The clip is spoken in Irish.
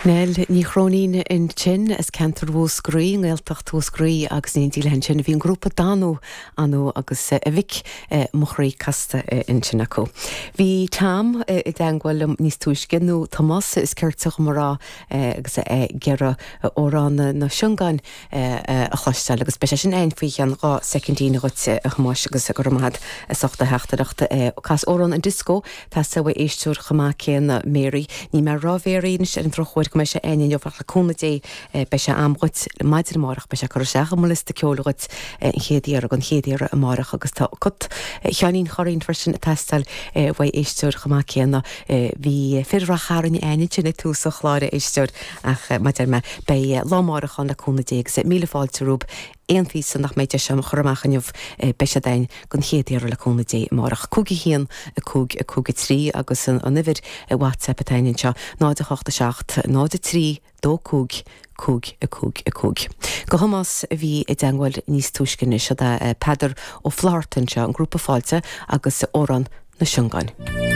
Nell Ní Chróinín ansin as ceantar Mhúscraí, i nGaeltacht Mhúscraí agus in éindí léi ansin bhí an grúpa Danú, Anú agus a Mhic Mo Chroí Casta ansin acu. Bhí Tom i dteangmháil liom níos túisce, nó Tomás is cirte dhom a rá, agus é ag iarraidh amhrán na Siongáin a chloisteáil agus beidh sé sin a'inn faoi cheann 2 soicindín dhuit a Thomáis agus go raibh maith agat as ucht do theachtaireacht. Cas amhrán an Disco teastaíonn uaidh éisteoir chomh maith céanna Mary. Níl mé ag rá Mary anois ar an drochuair go mbeidh sé a'inn inniu ach le cúnamh Dé beidh sé a'm dhuit maidin amárach beidh sé curtha isteach i mo liosta ceoil dhuit an chéad iarraidh an chéad iarraidh amárach agus tá cut Sheáinín Churraoin freisin ag teastáil uaidh éisteoir chomh maith céanna. Bhí fir Rath Chairn a'inn ansin ag tús an chláir a éisteoir Ach mar a deir mé, beidh lá amárach ann le cúnamh Dé agus míle fáilte romhaibh. Aon phíosa nach mbeidh deis agam a chur amach inniu, beidh siad a'inn don chéad iarraidh le cúnamh Dé amárach. 5 1 5 5 3 agus an uimhir WhatsApp atá a'inn anseo, 0 8 7 0 3 2 5 5 5 5. Do Thomás a bhí i dteangmháil níos túisce anois, siod é Peadar Ó Flatharta anseo, an grúpa Fáilte agus amhrán na Siongáin.